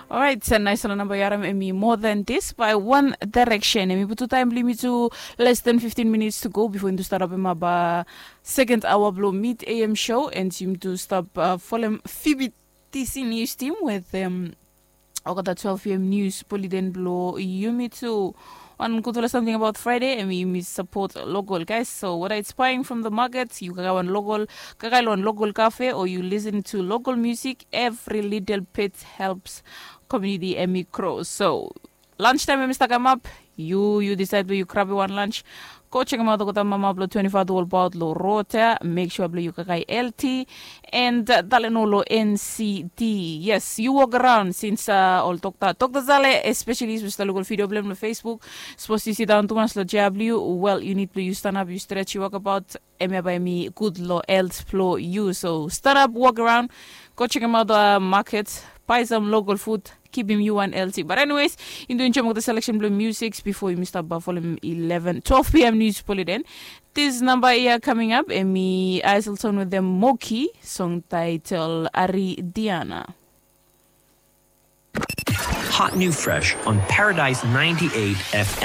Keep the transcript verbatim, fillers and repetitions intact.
Orait, nais long namba yu harim em i More Than This by One Direction. Em i putu taim bilong yumi tu less than fifteen minutes to go before yumi tu start up em up uh, second hour bilong mid A M show and yumi tu stop uh, folem Phoebe Tisi news team with um, olgeta twelve p.m. news poliden bilong yumi tu. Wan gudfala something about Friday em yumi support local guys. So whether it's buying from the market, you kakai wan local, kakai lo wan local cafe, or you listen to local music, every little bit helps community em i grow. So lunch time em i start come up, you you decide where you grab one lunch. Go check em out, go down mama below twenty-five the whole about lo rota. Make sure below you kakai L T and uh, dale no lo N C D. Yes, you walk around since uh, all doctor doctor zale, especially with the local video blem lo Facebook. Supposed to sit down too much lo J W. Well, you need to you stand up, you stretch, you walk about. Em ya bai mi good lo health flow you. So stand up, walk around, go check em out uh, market, buy some local food, keep him you one L T. But anyways, in doing jump the selection blue music before you stop by follow him eleven, twelve p.m. news poliden. This number here coming up, Emi Iselton with the Moki song title Ari Diana. Hot new fresh on Paradise ninety-eight F M.